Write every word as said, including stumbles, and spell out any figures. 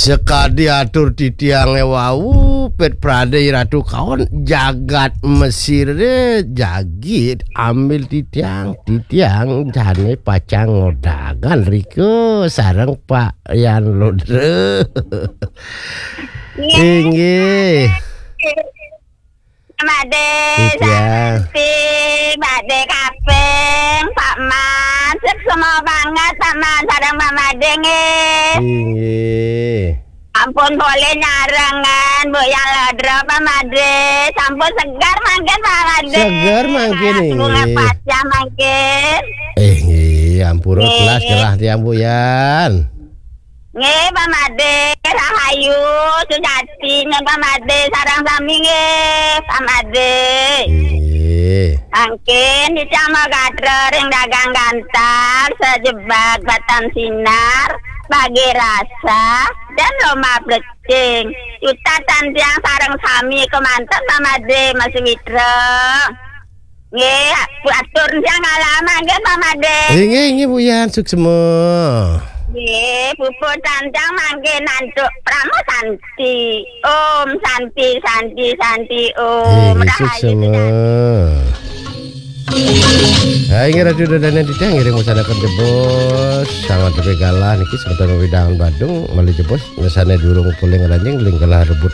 Sekadi atur titiange wau, Pet Pradé Ratu Kaon, jagat Mesire jagi ambil titiang, titiang jane pacang ngodagan rika sareng Pak Yan Ludra. Inggih. Pak Madé, Pak Madé Kaping, Pak Man, semua banget Pak Man, sareng Pak Madé nggih. Inggih. Ampun boleh nyarengan, Bu Yang Ledro, Pak Madé. Sampun segar mangkin, Pak Madé. Segar mangkin, bunga inggih. Pacah mangkin. Eh, nggih, ampura. Nggih. Kelas gerah tiang, Bu Yan. Nggih, Pak Madé, rahayu, sujati, nyen Pak Madé, sareng sami nggih, Pak Madé. Nggih. Mangkin titiang magadra ring dagang gantar, sajebag batan sinar, bagi rasa, dan lomah plecing. Jutatan tiang sareng sami kemanten Pak Madé, Mas Witra. Nggih, atur tiang ngalah mangkin Pak Madé. Inggih, inggih, Bu Yan, suksma. Nggih, puput tantang mangkin antuk Prama Santi. Om Santi, Santi, Santi, Om. Inggih, rahayu suksma. Sujati. Ha, inggih Ratu Dodane titiang ngiring wasanaken jebos, sanget tebih galah niki semeton wewidangan Badung malih jebos, ngesane durung polih ngranjing, ling galah rebut